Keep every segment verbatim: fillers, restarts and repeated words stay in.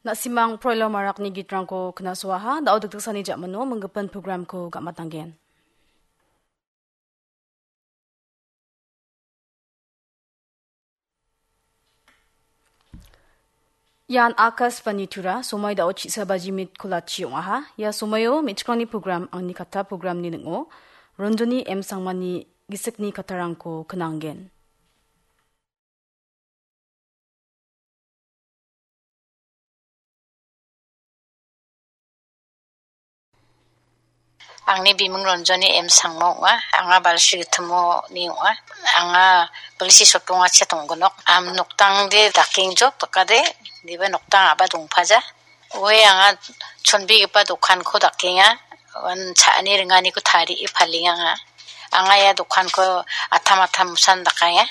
Na·simang Proilo Marakni gitrangko knasoaha, da·o dikdiksani ja·mano minggipin programko gamatanggen. Ian Akashvani Tura, somai da·o chisa baji mit kolachi ong·aha. Ia somaio me·chikrangni program, angni katta programni ning·o Ronjoni M Sangmani gisikni kattarangko knanggen. Angni biming Ronjoni M Sangma ong·a. Anga Balsi Gittimoni ong·a. Anga Balsi Sotongachi tonggonok. Am noktangde dakengjok dakade, diba noktang a·ba dongpaja. Oe anga chonbegipa dokanko dakenga. Uan cha·ani ringaniko tarie palenga anga. Anga ia dokanko atam atam san dakenga.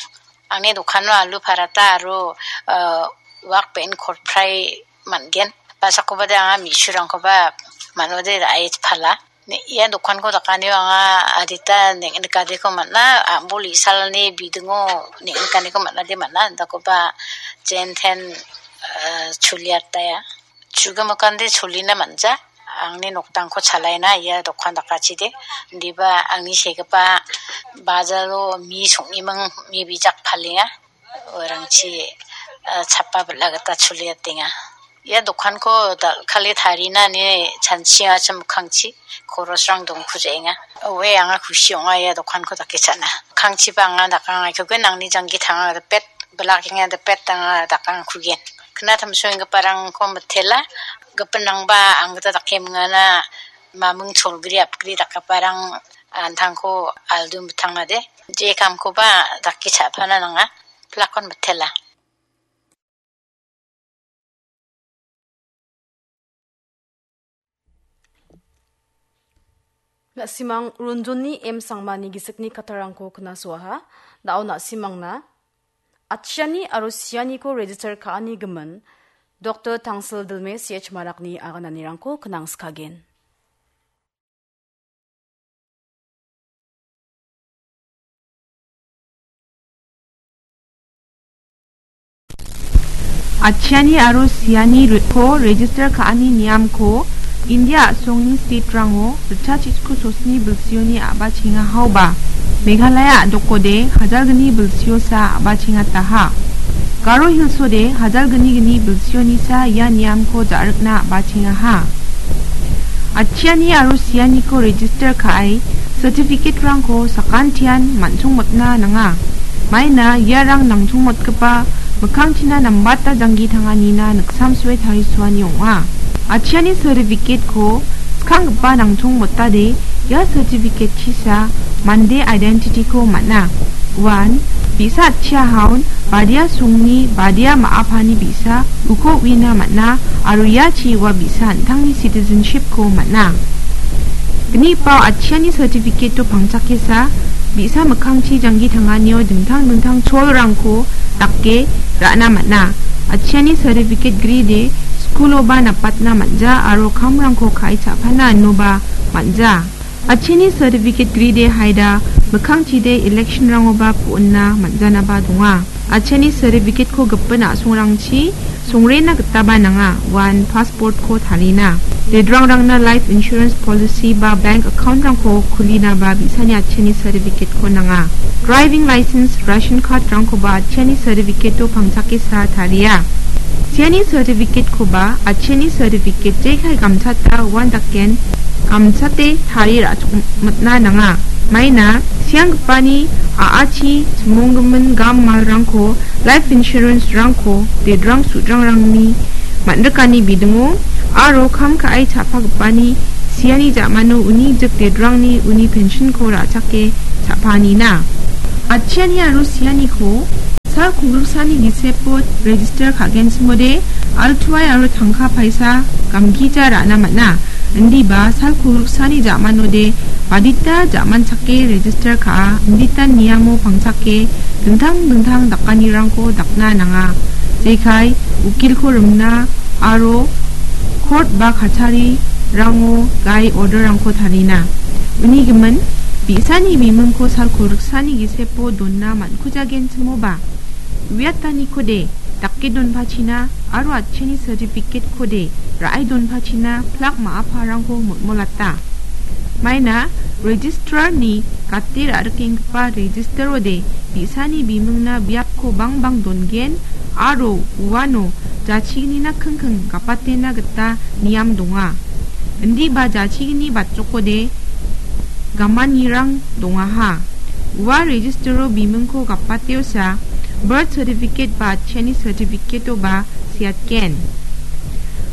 Angni dokano alu paratha aro, eh, wak be·en kotfrai man·gen. Ba·sakoba de anga me·surangkoba manode ra·e pala. Ne, ia dokanko dakanio anga adita neng·, nikadeko man·a, a·bol isalni bidingo neng·, nikaniko man·ade man·a, dakoba jenten, eh, choliataia. Chugimikande cholina man·ja. Angni noktangko chalaina ia dokan dakachide. Indiba angni segipa bajalo mi song·iming mi bijak palenga. Uarangchi, eh, chapa bila gita choliatenga. Ia dokanko dal·kale tarina ine chanchiacha mikkangchi korosrang dongkujaenga. Oe anga kusi ong·a ia dokanko dake cha·na. Mikkangchiba anga dakang aikogen angni janggi tanga dipet, bilakenga dipet anga dakang kugen. Kna tamsoenggiparangko mitela, gipinrangba anggita dake mingana maming cholgri apgri dakgiparang antangko aldu mitangade. Je kamkoba dake cha·pana nanga. Plakon mitela. Na·simang Ronjoni M Sangmani gisikni kattarangko knasoaha. Da·o na·simangna atchiani aro sianiko register ka·ani gimin Doktor Tangsil Dilme C H Marakni agananirangko knangskagen. Atchiani aro siani re-, ko register ka·ani niamko India a·songni state-rango ritchachitku sosni bilsioni a·bachenga haoba, Meghalaya a·dokode hajalgni bilsiosa a·bachengataha. Garo Hills-ode hajalgni gni bilsionisa ia niamko ja·rikna a·bachengaha. Atchiani aro sianiko register ka·e certificate-rangko sakantian man·chongmotna nanga. Maina iarang nangchongmotgipa mikkangchina nambata janggi tanganina niksamsoe tarisoani ong·a. Atchiani certificate-ko skanggipa nangchongmotade ia certificate-chisa mande identity-ko man·a. Uan bi·sa atchiahaon badia songni badia ma·apani bi·sa uko uina man·a aro iachi ua bi·sa an·tangni citizenship-ko man·a. Gnipao atchiani certificate-o pangchakesa bi·sa mikkangchi janggi tanganio dingtang dingtang cholrangko dake ra·na man·a. Atchiani certificate gride skuloba napatna man·ja aro kamrangko ka·e cha·pana inoba man·ja. Atchiani certificate gride haida mikkangchide election-rangoba po·onna man·janaba donga. Atchiani certificate-ko gipin a·songrangchi songrena gitaba nanga, uan passport-ko tarina. Dedrangrangna life insurance policy ba bank account-rangko kulinaba bi·sani atchiani certificate-ko nanga. Driving license, ration card-rangkoba atchiani certificate-o pangchakesa taria. Siani certificate-koba atchiani certificate jekai gamchata uan daken gamchate tarie ra·chok mitna nanga. Maina sianggipani a·achi chimonggimin gam malrangko, life insurance-rangko dedrang sudrangrangni man·rikani bidingo aro kam ka·e cha·pagipani siani ja·mano uni jik dedrangni uni pension-ko ra·chake cha·panina. Atchiani aro sianiko sal kongriksani gisepo register ka·genchimode altuai aro tangka paisa gamgija ra·na man·a. Indiba sal kongriksani ja·manode badita ja·manchake register ka·a, inditan niamo pangchake dingtang dingtang dakanirangko dakna nanga. Jekai ukilko rimna aro court ba kacharirango gai order-rangko tarina. Uni gimin, bi·sani bimingko sal kongriksani gisepo dona man-, kujagenchimoba, uiatanikode dak-, Ke donpachina aro atchiani certificate-kode ra·e donpachina plak ma·aparangko motmolata. Maina registrarni gate ra·rikenggipa registerode bi·sani bimingna biapko bangbang dongen aro uano jachignina kingking gapatena gita niam donga. Indiba jachigni batchokode gamanirang dongaha. Ua registero bimingko gapateosa birth certificate ba atchiani certificate-oba seatgen.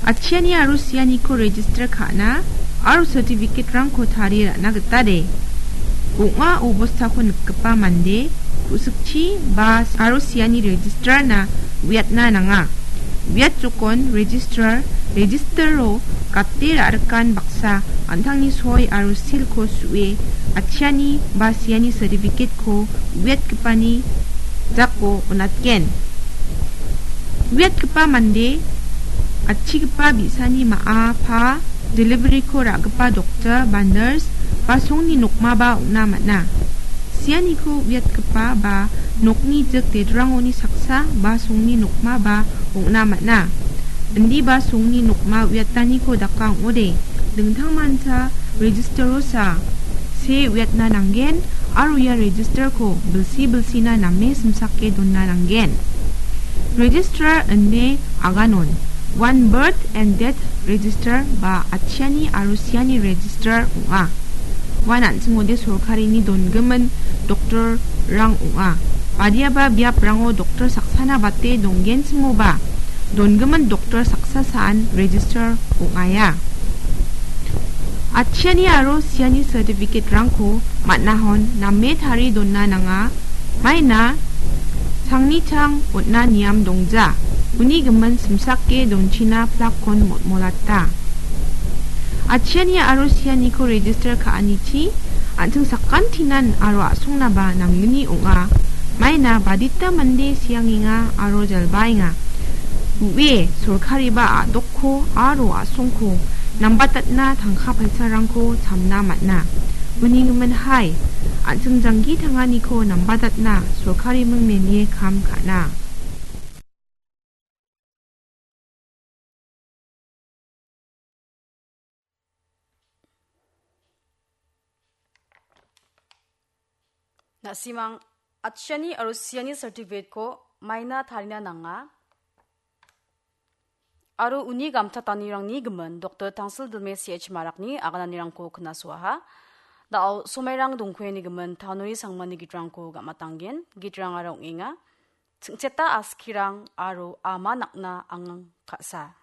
Atchiani aro sianiko register ka·na aro certificate-rangko tarie ra·na gita de. Ong·a obostako nikgipa mande ku·sikchi ba aro siani registrarna uiatna nanga. Uiat jokon registrar, registero gate ra·rikan baksa an·tangni soi aro silko su·e atchiani ba siani certificate-ko uiatgipani jako on·atgen. Uiatgipa mande atchigipa bi·sani ma·a pa delivery-ko ra·gipa doktor ba nurse ba songni nokmaba ong·na man·a. Sianiko uiatgipa ba nokni jik dedrangoni saksa ba songni nokmaba ong·na man·a. Indiba songni nokma uiataniko daka ong·ode, dingtangmancha registerosa see uiatna nanggen aro ia registerko bilsi bilsina name simsake dona nanggen. Registrar ine aganon, uan birth and death register ba atchiani aro siani register ong·a. Uan an·chingode sorkarini dongimin doktorrang ong·a. Badiaba biaprango doktor saksana bate donggenchimoba, dongimin doktor saksa saan register ong·aia. Atchiani aro siani certificate-rangko man·ahon name tarie dona nanga, maina changni chang on·na niam dongja, uni gimin simsake donchina plakkon motmolata. Atchiani aro sianiko register ka·anichi an·ching sakantinan aro a·songnaba namgni ong·a. Maina badita mande siangenga aro jalbaenga. Ue sorkariba a·dokko aro a·songko nambatatna tangka paisarangko chamna man·a. Uni gimin hai, an·ching janggi tanganiko nambatatna sorkariming nenie kam ka·na. Na·simang atchiani aro siani certificate-ko maina tarina nanga. Aro uni gamtatanirangni gimin Doktor Tangsil Dilme C H Marakni agananirangko knasoaha. Da·o somairang dongkoeni gimin Tanuri Sangmani gitrangko gamatanggen, gitrangara ong·enga. Chingcheta askirang aro ama nakna angang ka·sa.